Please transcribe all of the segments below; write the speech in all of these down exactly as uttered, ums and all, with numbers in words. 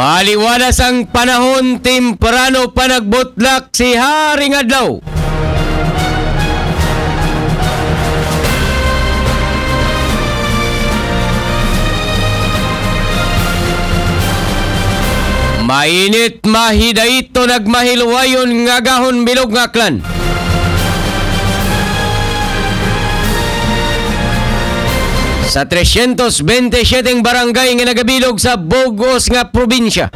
Paliwalas ang panahon, temprano pa nagbutlak si Haring Adlaw. Mainit, mahidait, nagmahilwayon nga gahon bilog nga aklan. Sa trescientos veintisiete barangay nga nagabilog sa bug-os nga probinsya.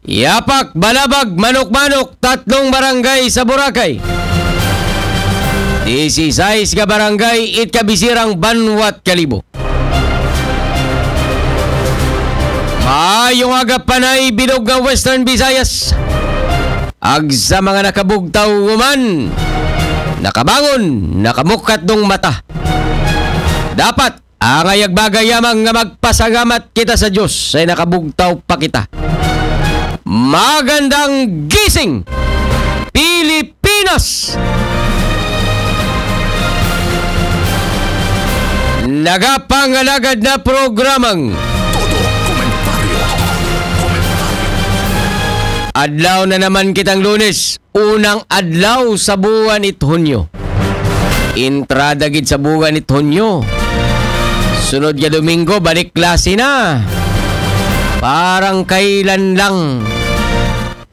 Yapak, Balabag, Manok-Manok, tatlong barangay sa Boracay. Disisais ka barangay it kabisirang banwat Kalibo. Maayong aga, Panay, bilog nga Western Visayas. Ag sa mga nakabugtaw human, nakabangon, nakamukat dong mata. Dapat, angay ag bagay yamang nga magpasalamat kita sa Diyos ay nakabugtaw pa kita. Magandang gising, Pilipinas! Nagapangalagad na programang Todo Komentaryo. Komentaryo. Adlaw na naman kitang Lunes, unang adlaw sa buwan it Hunyo. Entrada gid sa buwan it Hunyo. Sunod nga Domingo, balik klase na. Parang kailan lang.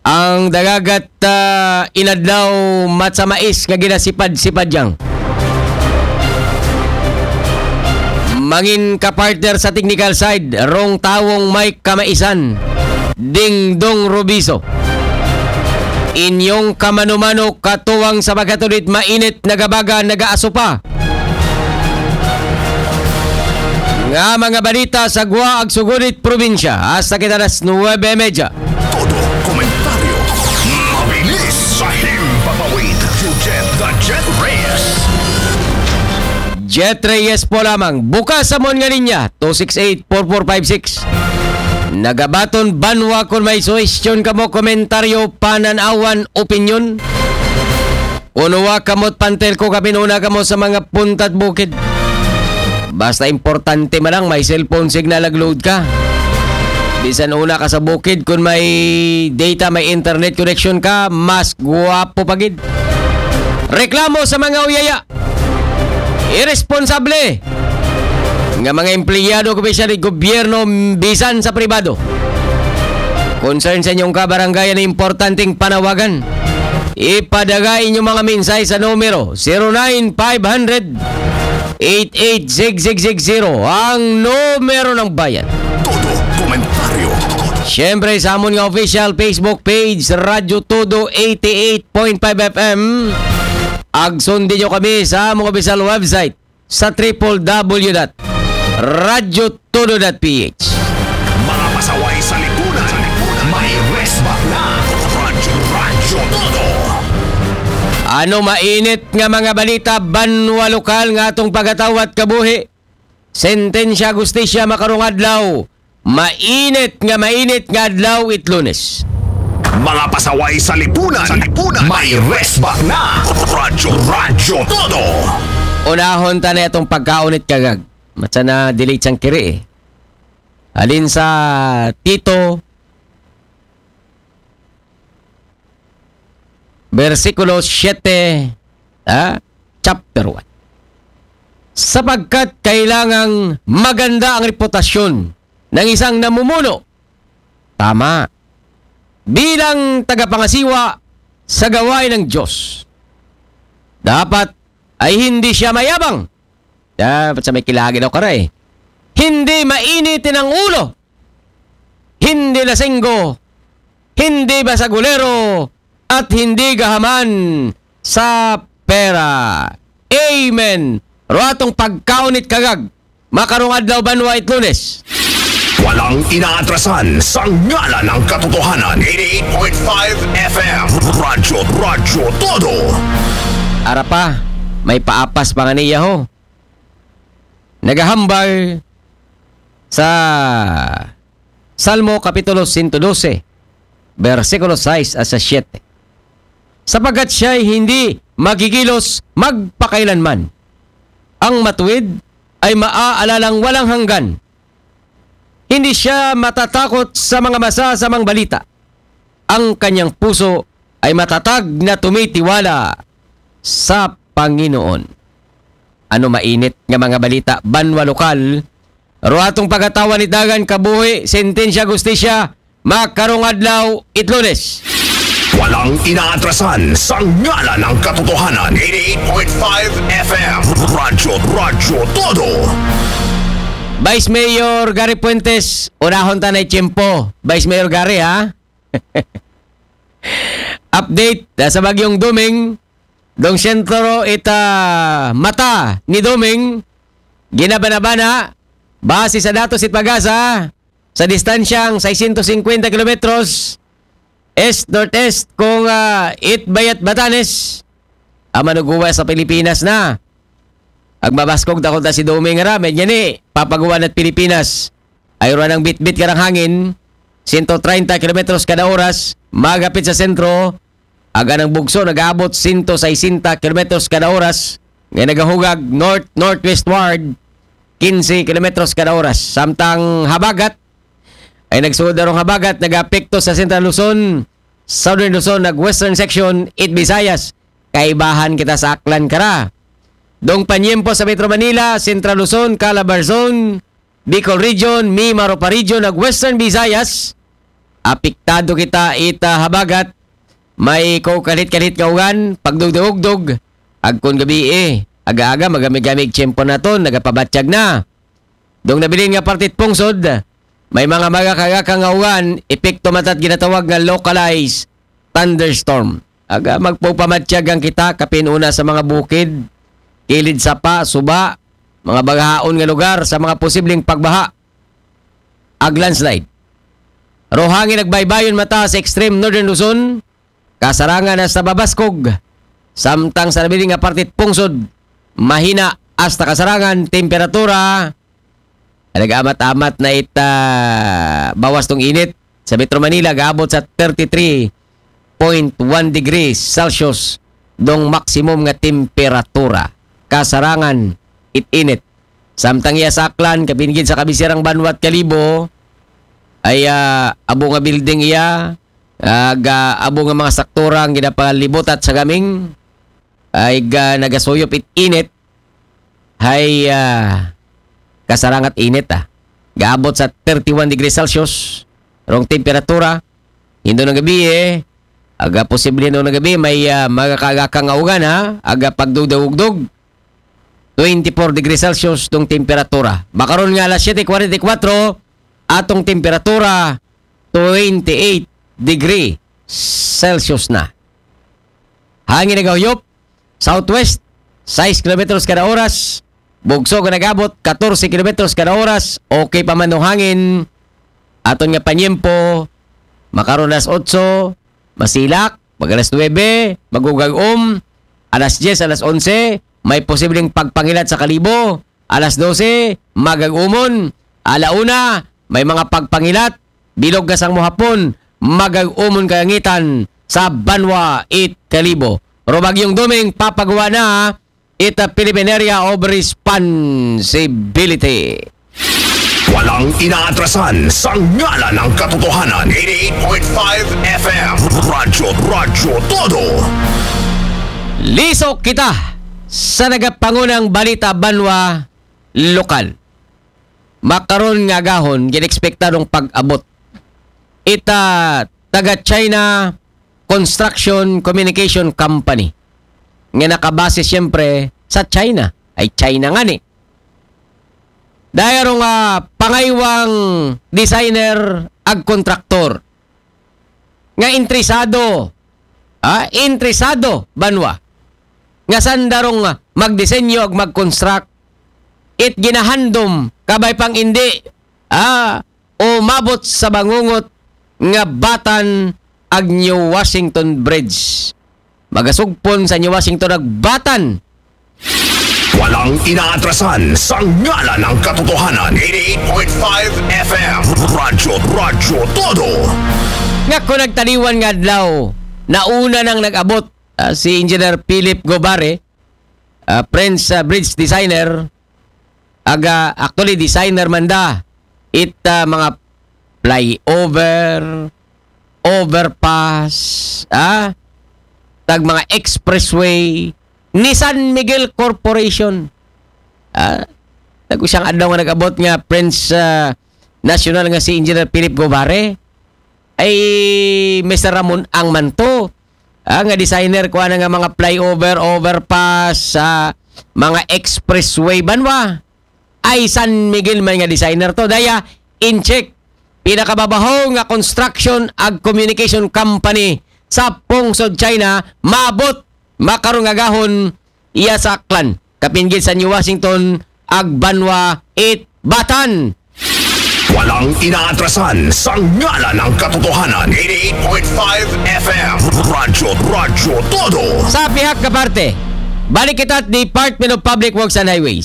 Ang dagagat, ah, inadlaw, matsa mais nga ginasipad-sipad yang. Mangin ka partner sa technical side, rong tawong may kamaisan, Dingdong Rubiso. Inyong kamano-mano katuwang sa pagkatudit, mainit, nagabaga, nagaaso pa. Nga mga balita sa gwa ag sugudit probinsya. Hasta kita alas nuwebe medya. Todo komentaryo. Mabilis sa himpapawid. Jujet the Jet Reyes. Jet Reyes po lamang. Bukas sa mon nga linya, two six eight, four four five six. Nagabaton banwa kon may suhestyon kamo, komentaryo, pananawan, opinyon. Unuwa kamot pantel ko, kapin una kamo sa mga puntat bukid. Basta importante man lang, may cellphone signal nag-load ka. Bisan una ka sa bukid, kung may data, may internet connection ka, mas guwapo pa gid. Reklamo sa mga uyaya. Iresponsable nga mga empleyado, opisyal sa gobyerno, bisan sa pribado. Concern sa inyong kabarangayan na importanteng panawagan. Ipadala inyong mga mensahe sa numero zero nine five hundred, eight eight six six six zero, ang numero ng bayan. Todo komentaryo. Siyempre, sa amon nga official Facebook page, Radyo Todo eighty-eight point five F M. Ag sundin nyo kami sa among official website sa triple W dot radyo todo dot P H. Mga pasaway sa lipunan, may resbat na. Radyo, Radyo Todo. Ano mainit nga mga balita, banwa lokal nga atong pagatawat kabuhi? Sentensya, hustisya, makarong adlaw. Mainit nga mainit nga adlaw it Lunes. Mga pasaway sa lipunan, sa lipunan, may resbat na. Radyo, Radyo Todo. Unahon ta na atong pagkaon it kagag. Matsa na delete sang kiri eh. Alin sa Tito, bersikulo siyete, ha? Chapter one. Sapagkat kailangang maganda ang reputasyon ng isang namumuno. Tama. Bilang tagapangasiwa sa gawain ng Diyos. Dapat ay hindi siya mayabang. Dapat sa may kilagi daw kara eh. Hindi mainitin ang ulo. Hindi lasinggo. Hindi basagulero. At hindi gahaman sa pera. Amen. Ruatong pagkaon it kagag. Makarong adlaw banwa it Lunes. Walang inaatrasan sa ngalan ng katotohanan. Eighty-eight point five F M. Radyo, Radyo Todo. Ara pa, may paapas pa nga niya ho. Nagahambal sa Salmo Kapitulo sento dose, bersikulo sais at sa siyete. Sapagkat siya'y hindi magigilos magpakailanman. Ang matuwid ay maaalalang walang hanggan. Hindi siya matatakot sa mga masasamang balita. Ang kanyang puso ay matatag na tumitiwala sa Panginoon. Ano mainit nga mga balita, banwa lokal? Ro atong pagatawa ni Dagan, kabuhi, sentensya, gustisya, makarong adlaw, it Lunes. Walang inaatrasan sa ngalan ng katotohanan. eighty-eight point five F M. Radyo, Radyo Todo. Vice Mayor Gary Fuentes, unahon ta na tiyempo. Vice Mayor Gary, ha? Update, ah, sa Bagyong Doming, dong sentro ita mata ni Doming, ginabanabana, base sa datos it pag-asa, sa distansyang sesenta kilometros, east-northeast kung, ah, it bayat Batanes, ang manuguwa sa Pilipinas na. Agmabaskog takot na si Doming ra, medya ni, papaguwa na't Pilipinas. Ay ruwan ang bitbit karang hangin, sento treinta kilometros kada oras, magapit sa sentro, aga ng bugso, nag-aabot sento sesenta kilometros kada oras, nga nagahugag north-northwestward, quince kilometros kada oras. Samtang habagat, ay nagsuod darong habagat, nagapekto sa Central Luzon, Southern Luzon, nag-Western Section, it Visayas. Kaibahan kita sa Aklan kara. Dong panyempo sa Metro Manila, Central Luzon, Calabar Zone, Bicol Region, Mimaropa Region, nag Western Visayas. Apektado kita ita habagat. May ko kalit-kalit nga ugan, pagdugdugdog. Agkon gabi eh. Aga-aga, magamig-gamig tiyempo naton, nagapabatyag na. Dong nabilin nga partit pungsod, may mga magakagaka nga uwan, epekto matat ginatawag nga localized thunderstorm. Aga magpupamatyag ang kita, kapin una sa mga bukid, kilid sapa, suba, mga bagahaon nga lugar sa mga posibleng pagbaha ag landslide. Rohangin nagbaybayon mata sa extreme northern Luzon, kasarangan hasta babaskog. Samtang sa nabilin nga partit pungsod, mahina hasta kasarangan temperatura. Nag-amat-amat na ita bawas tong init. Sa Metro Manila, gaabot sa thirty-three point one degrees Celsius dong maximum nga temperatura. Kasarangan it init. Samtang iya sa Aklan, kapin gid sa kabisirang banwat Kalibo, ay ah, abo nga building iya, ah, ga abo nga mga saktura ang ginapalibutat sa gaming, ay ga nagasuyop it init, hay ah, kasarangat init ah. Gaabot sa thirty-one degrees Celsius rong temperatura. Hindo ng gabi eh, aga posible hindo ng gabi, may ah, magakagaka nga ugan ha, aga pagdugdugdog. Twenty-four degrees Celsius tong temperatura. Makaron nga alas siyete kuwarenta y kuwatro, atong temperatura twenty-eight degree Celsius na. Hangin nagahuyop, southwest, sais kilometros kada oras. Bugso nga nagabot, katorse kilometros kada oras. Okay pa man ang hangin. Aton nga panyempo, makaron alas otso, masilak, mag alas nuwebe, magugag-om, alas dyes, alas onse, may posibleng pagpangilat sa Kalibo, alas dose, magag-umon, ala una, may mga pagpangilat, bilog nga sang mohapon, magag-umon kalangitan sa banwa it Kalibo. Pero Bagyong Doming, papaguwa na ita Philippine Area of Responsibility. Walang inaatrasan sa ngalan ng katotohanan. eighty-eight point five F M. Radyo, Radyo Todo. Lisok kita sa nagapangunang balita banwa lokal. Makaron nga agahon, ginekspektadong pag-abot ita taga China Construction Communication Company nga nakabase siyempre sa China. Ay China nga ni. Dahil nga pangaywang designer ag kontraktor nga interesado, ah, interesado banwa nga sandarong magdisenyo ag mag-construct it ginahandom kabay pang indi, ah, umabot sa bangungot nga batan ag New Washington Bridge. Magasugpon sa New Washington ag batan. Walang inaatrasan sa ngalan ng katotohanan. eighty-eight point five F M. Radyo, Radyo Todo. Nga kung nagtaliwan nga adlaw, nauna nang nag-abot, ah, si Engineer Philip Gobare, ah, Prince, ah, Bridge Designer, Aga, actually, designer man da. It, ah, mga flyover, overpass, ah, tag mga expressway, ni San Miguel Corporation. Ah, nag-, siyang adlaw nga nag-abot nga Prince, ah, National nga si Engineer Philip Gobare, ay Mister Ramon Ang Manto, ah, nga designer ko ana nga mga flyover, overpass, sa mga expressway banwa. Ay San Miguel man nga designer to. Daya, Incheck, pinakababaho nga construction ag communication company sa pungsod China, maabot makarong agahon iya sa Aklan, kapinggan sa New Washington, ag banwa it Batan. Walang inaatrasan sa ngalan ng katotohanan. Eighty-eight point five F M. Radyo, Radyo Todo. Sa pihak nga parte, balik kita at Department of Public Works and Highways.